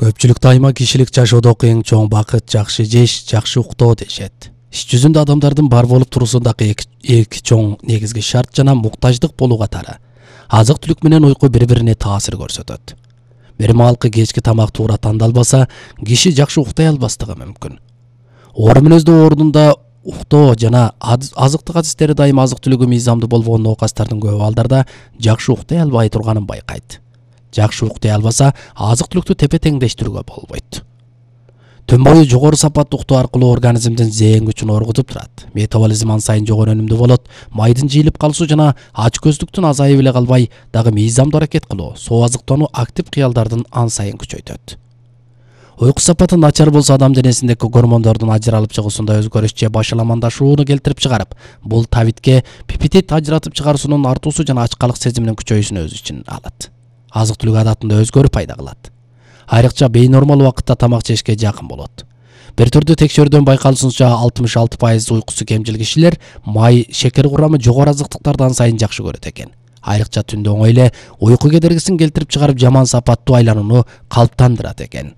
Көпчүлүк дайыма кишилик жашоодогу эң чоң бакыт жакшы жеш, жакшы уктоо дешет. Иш жүзүндө адамдардын бар болуп турусундагы эки чоң негизги шарт жана муктаждык болуу катары. Азык-түлүк менен уйку бири-бирине таасир көрсөтөт. Бир маалкы кечки тамак туура тандалбаса, киши жакшы уктай албастыгы мүмкүн. Оор мүнөздүү ордунда уктоо жана азыктык адистери дайыма азык-түлүгү мыйзамдуу болбогон оокаттардын көп абалдарда жакшы уктай албай турганын байкайт. Жакшы уктай албаса, азык-түлүктү тепе-теңдештирүүгө болбойт. Түн бою жогору сапаттуу уктоо аркылуу организмдин зээн күчүн оргутуп турат. Метаболизм ан сайын жогору өнүмдүү болот. Майдын жыйылып калышуу жана ач көздүктүн азайып эле калбай, дагы мыйзамдуу аракет кылуу, соо азыктануу актив кыялдардын ан сайын күчөйтөт. Уйку сапаты начар болсо адам денесиндеги гормондордун ажыралып чыгуусунда өзгөрүш же башаламандашууну келтирип чыгарып, бул табитке пептид ажыратып чыгаруусунун артуусу жана ачкалык сезиминин күчөйүүсүн өз ичине алат. Азык-түлүк адатында өзгөрүү пайда кылат. Айрыкча бейнормал убакытта тамак жешке жакын болот. Бир түрдүү текшерүүдөн байкалышынча 66% уйкусу кемчил кишилер май, шекер курамы жогору азыктыктарды ан сайын жакшы көрөт экен. Айрыкча түндө оңой эле уйку кедергисин келтирип чыгарып жаман сапаттуу айланууну калыптандырат экен.